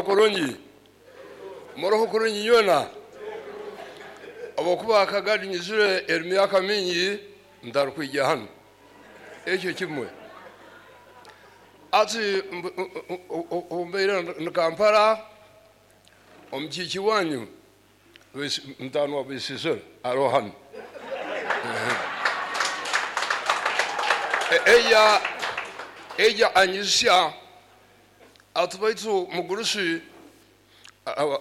Muro kurungi, muroho kurungi nywena. Habwokuba Kagadi nyizire eri myaka mingi ntarukwija hanu, ekyo kimwe. Ati mbaire ni Kampala, omukiiki wanyu ntanwa Bwisisira aroho hanu. Eja eja anyizisya ati baitu mugurusi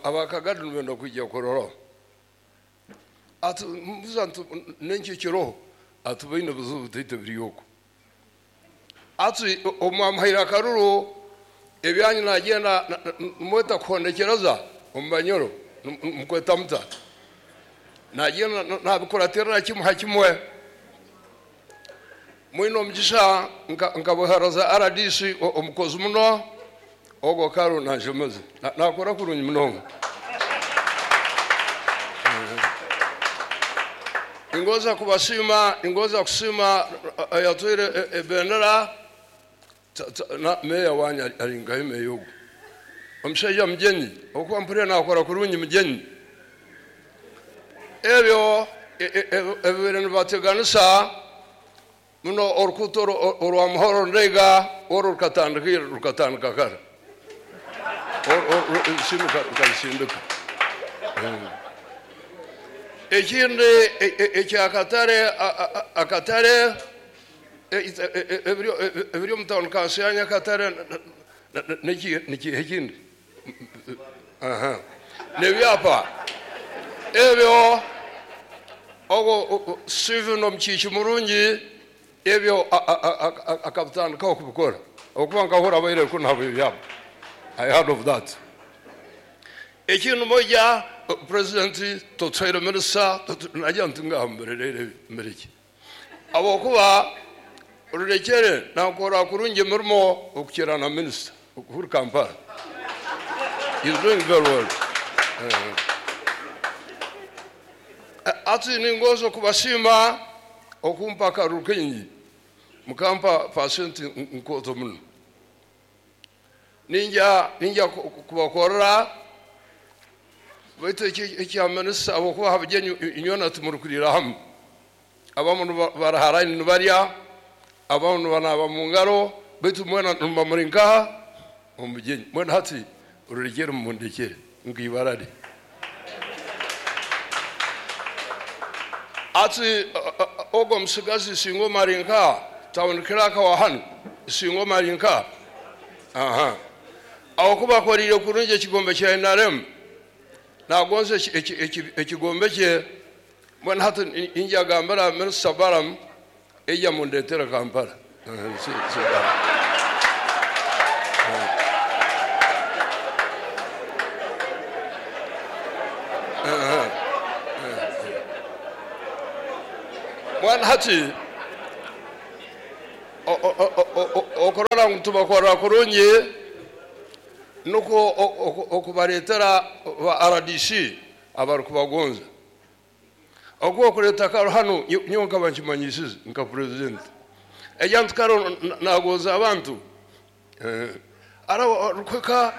abakagadi nibenda kwija kuroraho. Ati mbuza nti nenki kiroho? Ati baine buzibu bitaito biri oku. Ati omwamuhaire akaruru ebyanyu nagenda nimweta kuhondekereza omu Banyoro, mukweta muta? Nagenda nabikuratirira kimwe ha kimwe. Mwine omugisha nkabuharaza RDC omukozi muno ogwo karo nanshemeze nakora kurungi munonga. Ningoza kubasiima, ningoza kusiima ayatwire ebendera meya wanyu ari nkahe meya ogwo omushaija Mugyenyi, okuba mpurire nakora kurungi Mugyenyi. Ebyo ebibaire nibateganisa muno orukuuto orwa Muhoro Ndeiga orwo rukatandika kare, rukasindika. Ekindi ekyakatare, akatare ebiri omu tawuni kanso ya Nyakatare nikiha ekindi n'ebyapa ebyo ogwo Steven omukiiki murungi ebyo akabitandikaho kubikora, okuba nkahura abaire kunaaba ebyapa. I heard of that. Ekindi moja president totwaire minisita najya nti ngaha mbererere mbireki, habwokuba Rurekere nakora kurungi emirimo okukira na minisita okuri Kampala. He's doing very well. Ati ningoza kubasiima okumpa akaruru kaingi, mukampa pasenti nkooto muno. Ninja kubakorera baitu ekya minisita, habwokuba ha bugyenyi inywena timurikurira hamu, abamu baraharaini nibarya, abamu nibanaba mu ngaro, baitu mwena nimuba muri nkaha omu bugyenyi. Mwena hati Rurekere mumundekere nk'ibarare. Ati ogwo musigazi singa ari nka town clerk wa hanu, singa ari nka aha aho kuba akorire kurungi ekigombe kya NRM, nagonza ekigombe kye. Mbona hati injagambira minisita Balaam ejja mundetera Kampala. Mwana hati okurora ngu tubakorera kurungi nukwo okubaretera ba RDC abarikubagonza. Okuba okureta karo hanu nyowe nkaba nkimanyisize nka president, ejya nti karo nagonza abantu. Ara rukweka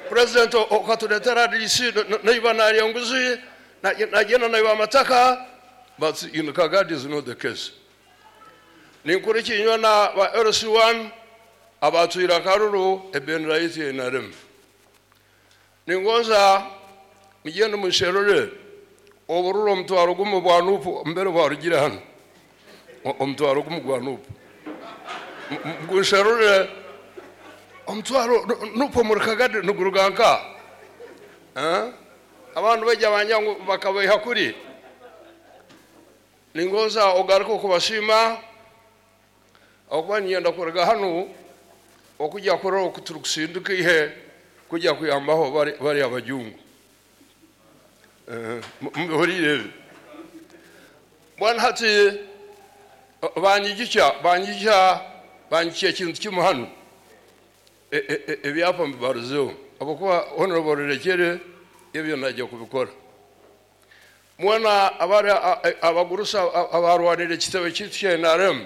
president okaturetera RDC naiba narya nguzi, nagenda naiba amataka, but in Kagadi is not the case. Ninkurikinywa na ba LC1 abatwira karuru ebendera yitu ya NRM. Ningoza mugende musherure obururu omutwaro gumu bwa nupu mbere bwarugire hano, omutwaro gumu gwa nupu gusherure omutwaro nupu muri Kagadi niguruga nka abantu bajya banyangu bakabeha kuri. Ningoza ogaruka okubashima okuba niyenda kuruga hano okujya kurora okuturukusindika ihe kujya kuyambaho bari abajungu. Mubihurire ebi. Bwana hati banyigicha ekintu kimwe hano, ebyapa mbibaruzeho, habwokuba honorable Rurekere ebyo najya kubikora. Mwana abari abagurusa abarwanira ekitebe kyaitu kya NRM,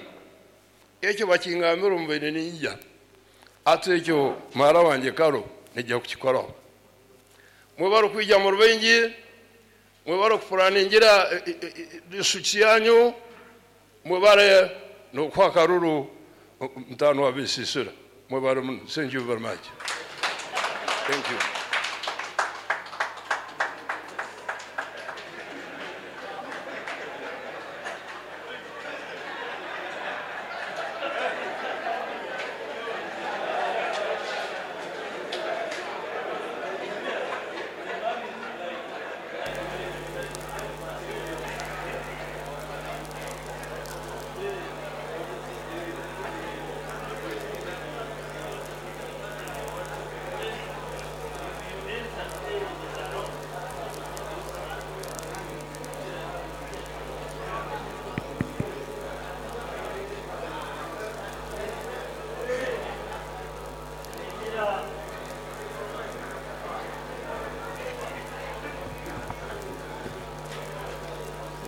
ekyo bakingambira omubaire ninjya. Ati ekyo muhara wangye Karo Nijja kukikoraho. Mwebale kwija mu rubingi, mwebale kupuraningira district yanyu, mwebale n'okuha akaruru mutano wa Bisisira. Mwebale muno. Thank you very much. Thank you.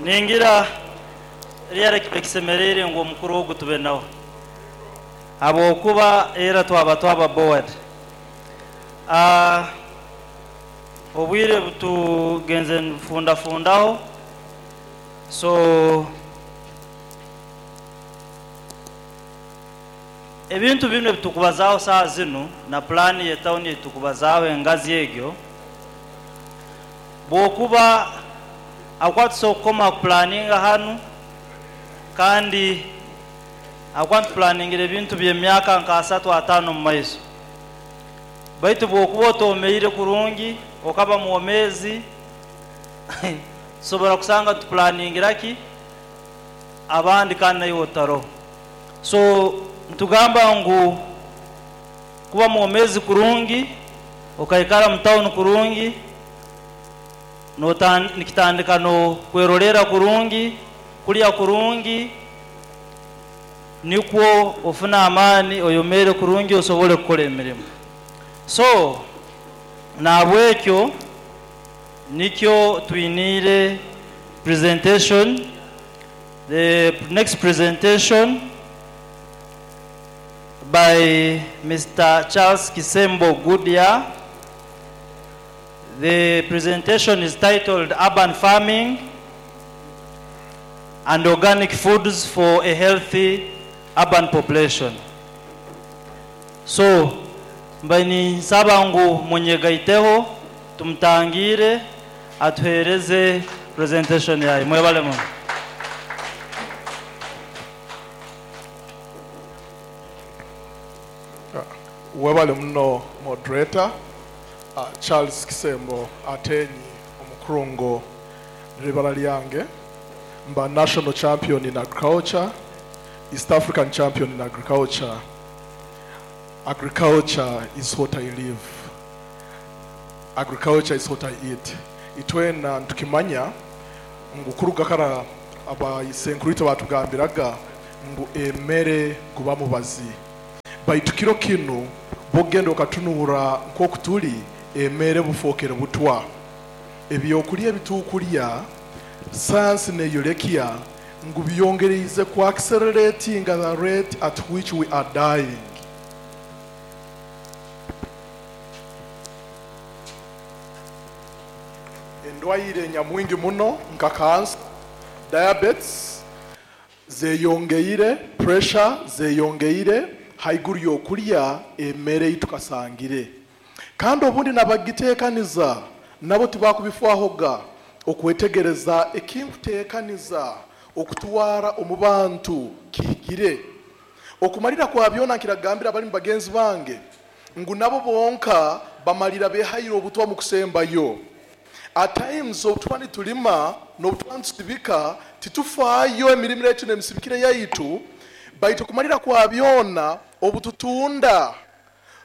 Ningira ryari kisemerere ngo omukuru ogu tube nawe, habwokuba era twaba board. Obwire butugenze nfundafundaho, so ebintu bino ebitukubazaho saa zino na plani ye town etukubazaho engazi egyo, bwokuba akwatisa okukoma planninga hanu, kandi akwatu planningira ebintu by'emyaka nka asatu atano mu maiso. Baitu bwokuba otomeire kurungi okaba mwomezi, tusobola kusanga tuplanningira ki abandi kandi nayo otaroho. So ntugamba ngu kuba mwomezi kurungi, okaikara mu town kurungi, nikitandika no kwerolera kurungi, kulya kurungi, nikwo ofuna amani oyomere kurungi osobole kukora emirimo. So nabwekyo nikyo twinire presentation. The next presentation by Mr. Charles Kisembo Goodyear. The presentation is titled Urban Farming and Organic Foods for a Healthy Urban Population. So, mbaini nsaba ngu munyegaiteho tumtangire atuhereze presentation yaye. Mwebale muno. Webale muno moderator. Charles Kisembo Atenyi omukurungo libala lyange, mba national champion in agriculture, East African champion in agriculture. Agriculture is what I live. Agriculture is what I eat. Itwena ntukimanya ngu kuruga kara abayisenkurito batugambiraga ngu emere guba mubazi. Baitu kiro kinu bogenda okatunura nk'okutuli emere bufokere butwa. Ebyokulya ebitukulya science neyolekia ngu byongereize ku accelerating the rate at which we are dying. Endwaire nyamwingi muno nka cancer, diabetes zeyongeire, pressure zeyongeire, haiguru yokulya emere itukasangire. Kandi obundi nabagiteekaniza nabo tibakubifwahoga okwetegereza ekinkuteekaniza okutwara omu bantu kihikire. Okumalira kwa byona nkiragambira abali mu bagenzi bange ngu nabo bonka bamalira behayire obutwa mu kusembayo. At times obutuba nitulima n'obutuba nitutibika titufaayo emirimu yaitu n'emisibikire yaitu, baitu okumalira kwa byona obututunda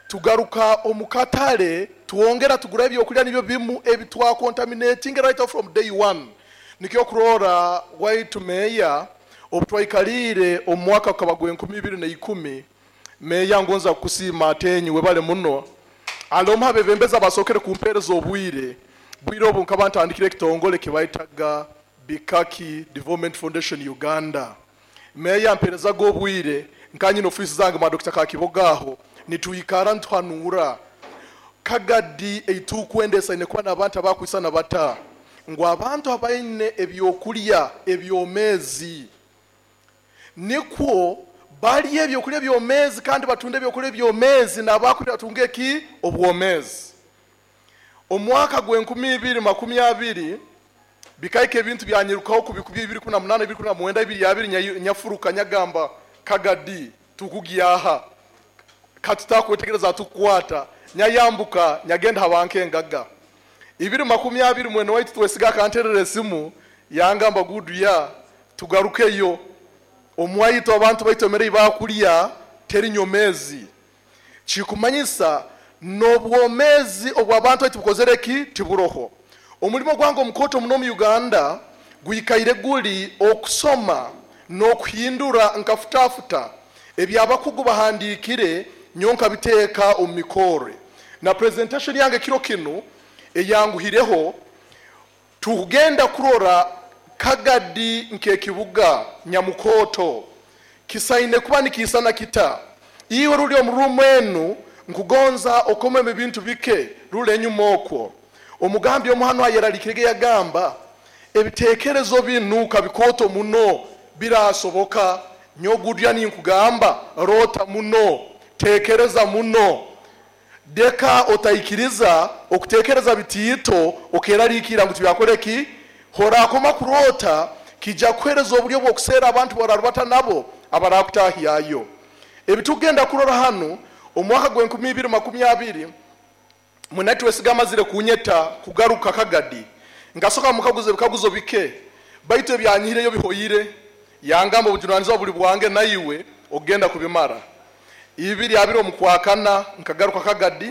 tugaruka omukatale tuwongera tugura ebyokulya nibyo bimu ebitwa contaminating right off from day one. Nikyo kurora waitu meya obutwaikalire omwaka ukaba enkumi ibiri na ikumi, meya ngonza kusiima Atenyi webale muno alomha bebembeza basokere kumpereza obwire bwire obu nkaba ntandikire ekitongole kibaitaga Bikaki Development Foundation Uganda. Meya mperezaga obwire nkanyina ofisi zange ma Dr. Kakibogaho nituikara ntwanura Kagadi eitukwenda esaine kuba n'abantu abakwisana bata, ngu abantu abaine ebyokulya ebyomezi, nikwo balye ebyokulya ebyomezi kandi batunde ebyokulya ebyomezi, n'abakulya batunge eki obwomezi. Omwaka gw'enkumi ibiri makumi abiri bikaika ebintu byanyirukaho ku bikubi bibiri kumi na munana, bibiri kumi na mwenda, bibiri abiri, nyafuruka nyagamba Kagadi tukugyaha katutakwetegereza tukukwata, nyayambuka nyagenda habanke engaga. Ibiri makumi abiri mwene waitu twesiga akanterera esimu yangamba gudu ya tugarukeyo omwaitu abantu baitu emere bakulya teri nyomezi. Kikumanyisa n'obwomezi obw'abantu baitu bukozere ki tiburoho. Omulimo gwange omukoto muno mu Uganda gwikaire guli okusoma n'okuhindura nkafutafuta ebyabakugu bahandikire nyonka biteeka omu mikore. Na presentation yange kiro kinu eyanguhireho, tugenda kurora Kagadi nk'ekibuga Nyamukoto kisaine kuba nikisana kita. Iwe ruli omu rumu enu nkugonza okomeme ebintu bike rule enyuma okwo. Omugambi omuhano ayeralikirege yagamba ebitekerezo binuka bikoto muno birasoboka, nyogudya ninkugamba rota muno, tekereza muno, deka otaikiriza okutekereza bitiito okerarikira ngu tibyakoreki. Horakoma kurota kijja kuhereza oburyo bw'okuseera abantu bararubata nabo abarakutahyayo. Ebitugenda kurora hano omwaka gw'enkumi ibiri makumi abiri munati wesiga amazire kunyeta kugaruka Kagadi, ngasoka mukaguze ebikaguzo bike baitu ebyanyihireyo bihoyire, yangamba obujunanizibwa buli bwange naiwe ogenda kubimara. Ibiri abiri omukwakana nkagaruka Kagadi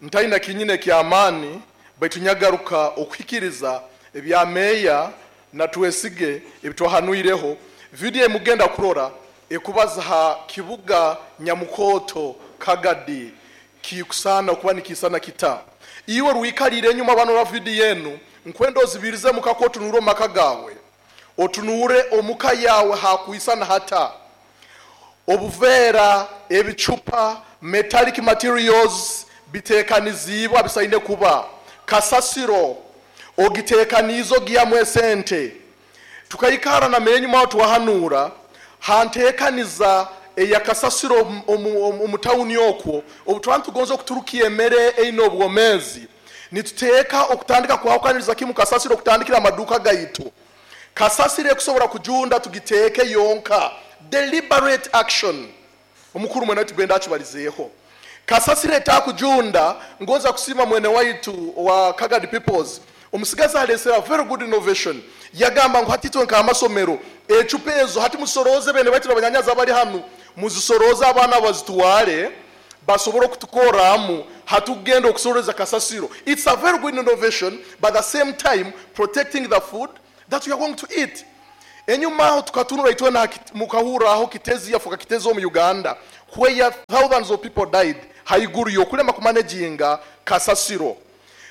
ntaina kinyine kyamaani, baitu nyagaruka okuhikiriza ebya meya na twesige ebitwahanuireho. Video emugenda kurora ekubaza ha kibuga Nyamukoto Kagadi kikusana kuba nikisana kita. Iwe rwikalire enyuma bano ra video yenu nkwenda ozibirize mukako otunure omaka gawe, otunure omuka yawe hakuisana hata obuvera, ebicupa, metallic materials bitekanizibwa bisaine kuba kasasiro ogitekanizo giamwe sente. Tukaikara na menyu mao twahanura hantekaniza eya kasasiro omu town okwo obutwantu tugonza okuturukia emere eino obwomezi, nituteeka okutandika kwahukaniriza kimu kasasiro okutandikira amaduka gaitu. Kasasiro ekusobora kujunda tugiteeke yonka, deliberate action. Omukuru mwene waitu gwenda akibalizeeho. Kasasiro etakujunda, ngonza kusima mwene waitu wa Kagadi Peoples, omusigazi alesera very good innovation. Yagamba ngu hati itwe nk'amasomero ecupa ezo hati musoroze bene baitu abanyanyazi abali hanu muzisoroze abaana bazitwale basobora okutukoramu hatugenda okusoreza kasasiro. It's a very good innovation, but at the same time protecting the food that we are going to eat. Enyuma aho tukatunura itwe na mukahura aho Kitezi yafuka Kitezi omu Uganda where thousands of people died haiguru yokulema kumanaginga kasasiro.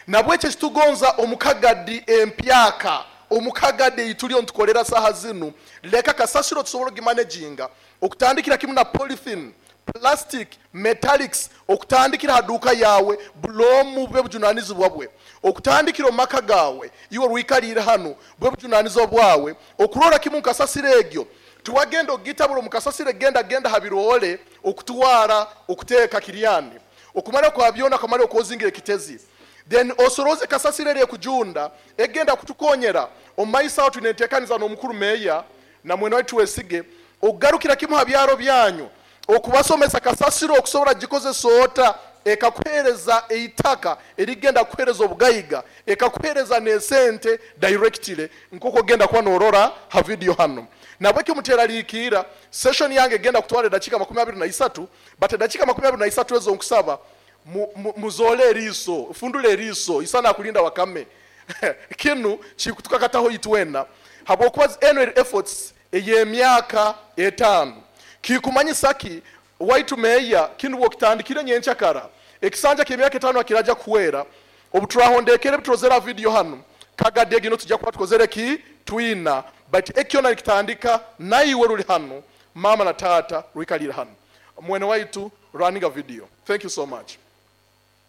Nabwekyo kitugonza omukagadi empyaka, omukagadi eitulio ntukolera saha zinu, leka kasasiro tusobora ogimanaginga okutandikira kimu na polythene, plastic, metallics, okutandikira haduka yawe bulomu bwe bujunanizibwa bwe, okutandikira omaka gawe iwe rwikalire hanu bwe bujunanizibwa bwawe, okurora kimu nkasasiro egyo tuwagenda ogitabura omukasasiro genda genda habirole okutwara okuteeka kiryani okumara kwa byona kamara okozingira ekitezi, then osoroze kasasiro eri ekujunda egenda kutukonyera omumaisa aho tunetekaniza n'omukuru meya na mwene waitu wesige ogarukira kimu ha byaro byanyu okubasomesa kasasiro okusobora gikozesa ota ekakuhereza eitaka erigenda kuhereza obugaiga ekakuhereza n'esente directly nk'oku ogenda kuba norora ha video hano. Nabwekyo muteraliikira session yange egenda kutwara edakika makumi abiri na isatu, but edakika makumi abiri na isatu ezo nkusaba muzole eriiso, fundule eriiso isana kulinda wakame. Kinu kikutukakataho itwena habwokuba annual efforts ey'emyaka 5 kikumanyisa ki waitu meya kinu bwokitandikire nyenchakara ekisanja ky'emyaka 5 akiraja kuwera obuturahondekere bitrozera video hano Kagadi egino tujja kuba tukozere ki twina, but ekyona nikitandika naiwe ruli hano mama na tata rwikalira hano mwene waitu running a video. Thank you so much.